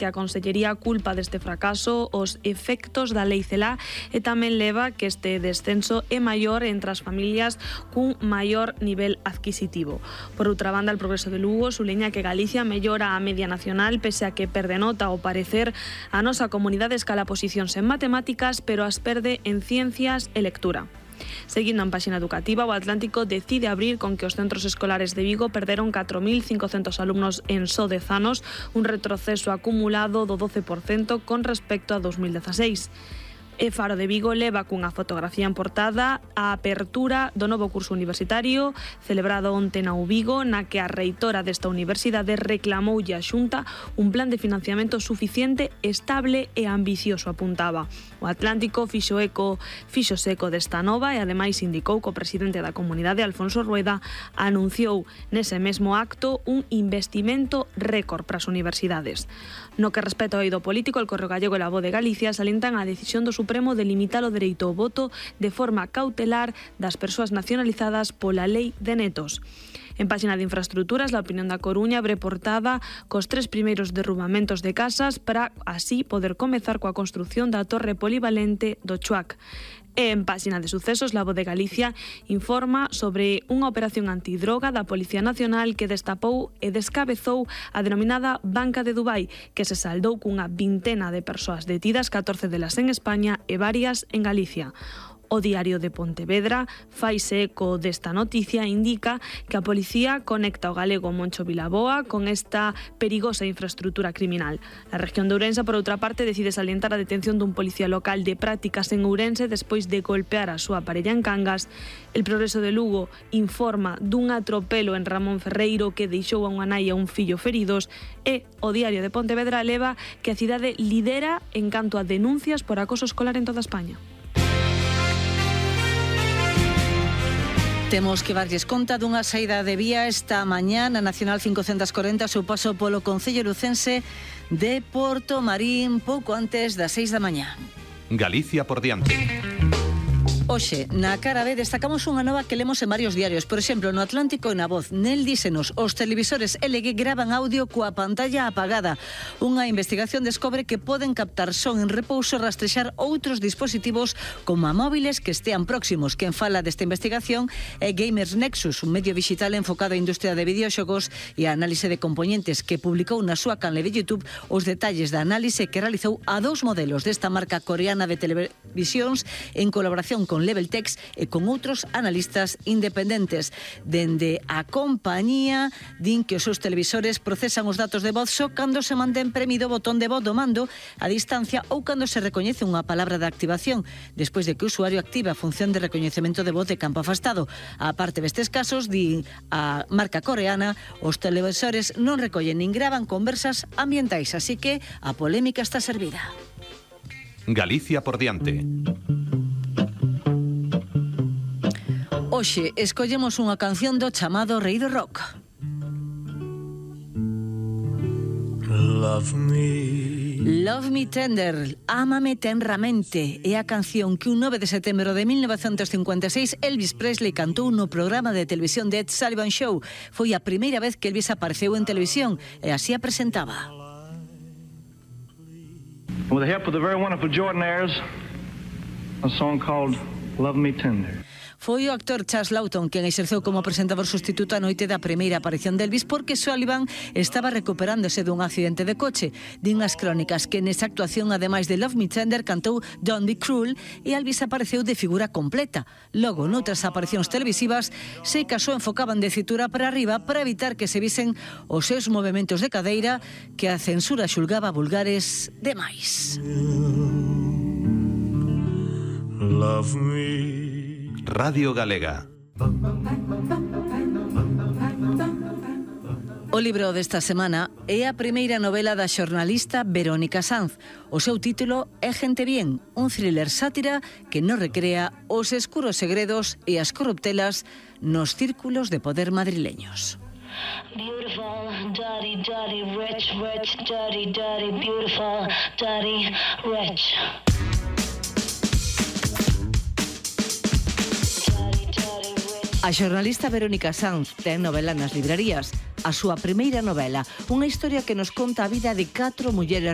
que a Consellería culpa deste fracaso os efectos da Lei Celaá e tamén leva que este descenso é maior entre as familias cun maior nivel adquisitivo. Por outra banda, el Progreso de Lugo suleña que Galicia mellora a media nacional pese a que perde nota ao parecer a nosa comunidade escala posicións en matemáticas, pero as perde en ciencias e lectura. Seguindo en páxina educativa, o Atlántico decide abrir con que os centros escolares de Vigo perderon 4.500 alumnos en só 10 anos, un retroceso acumulado do 12% con respecto a 2016. E Faro de Vigo leva cunha fotografía en portada a apertura do novo curso universitario celebrado onte na Vigo, na que a reitora desta universidade reclamoulle a Xunta un plan de financiamento suficiente, estable e ambicioso, apuntaba. O Atlántico fixo seco desta nova e ademais indicou que o presidente da comunidade, Alfonso Rueda, anunciou nese mesmo acto un investimento récord para as universidades. No que respecta ao eido político, el Correo Gallego e La Voz de Galicia salientan a decisión do Supremo de limitar o dereito ao voto de forma cautelar das persoas nacionalizadas pola Lei de Netos. En páxina de infraestructuras, La Opinión da Coruña abre portada cos 3 primeiros derrubamentos de casas para así poder comezar coa construción da torre polivalente do Chuac. E en páxina de sucesos, La Voz de Galicia informa sobre unha operación antidroga da Policía Nacional que destapou e descabezou a denominada Banca de Dubai, que se saldou cunha vintena de persoas detidas, 14 delas en España e varias en Galicia. O Diario de Pontevedra faise eco desta noticia e indica que a policía conecta o galego Moncho Vilaboa con esta perigosa infraestructura criminal. A región de Ourense, por outra parte, decide salientar a detención dun policía local de prácticas en Ourense despois de golpear a súa parella en Cangas. El Progreso de Lugo informa dun atropelo en Ramón Ferreiro que deixou a unha nai e un fillo feridos e o Diario de Pontevedra leva que a cidade lidera en canto a denuncias por acoso escolar en toda España. Temos que darlles conta dunha saída de vía esta mañá na Nacional 540 seu paso polo concello lucense de Portomarín pouco antes das 6 da mañá. Galicia por diante. Hoxe, na cara B, destacamos unha nova que lemos en varios diarios. Por exemplo, no Atlántico e na Voz. Nel dísenos, os televisores LG gravan audio coa pantalla apagada. Unha investigación descobre que poden captar son en repouso e rastrexar outros dispositivos como a móviles que estean próximos. Quen fala desta investigación é Gamers Nexus, un medio digital enfocado á industria de videoxogos e a análise de componentes que publicou na súa canle de YouTube os detalles da análise que realizou a 2 modelos desta marca coreana de televisións en colaboración con Leveltex e con outros analistas independentes. Dende a compañía din que os seus televisores procesan os datos de voz só cando se mantén premido o botón de voz do mando a distancia ou cando se recoñece unha palabra de activación, despois de que o usuario activa a función de recoñecemento de voz de campo afastado. A parte destes casos, di a marca coreana, os televisores non recollen nin gravan conversas ambientais, así que a polémica está servida. Galicia por diante. Hoxe escollemos unha canción do chamado Rei do Rock. Love Me Tender, Ámame tenramente, é a canción que un 9 de setembro de 1956 Elvis Presley cantou no programa de televisión The Ed Sullivan Show. Foi a primeira vez que Elvis apareceu en televisión e así a presentaba. With the help of the very wonderful Jordanaires, a song called Love Me Tender. Foi o actor Charles Lawton quen exerceu como presentador sustituto a noite da primeira aparición de Elvis porque Sullivan estaba recuperándose dun accidente de coche. Din as crónicas que nesa actuación, ademais de Love Me Tender, cantou Don't Be Cruel e Elvis apareceu de figura completa. Logo, noutras aparicións televisivas, se casou enfocaban de cintura para arriba para evitar que se visen os seus movementos de cadeira que a censura xulgaba vulgares demais. Love me. Radio Galega. O libro desta semana é a primeira novela da xornalista Verónica Sanz. O seu título é Gente Bien, un thriller sátira que nos recrea os escuros segredos e as corruptelas nos círculos de poder madrileños. Beautiful, dirty, dirty, rich, rich, dirty, dirty, beautiful, dirty, rich. A xornalista Verónica Sanz ten novela nas librarías. a súa primeira novela, unha historia que nos conta a vida de 4 mulleres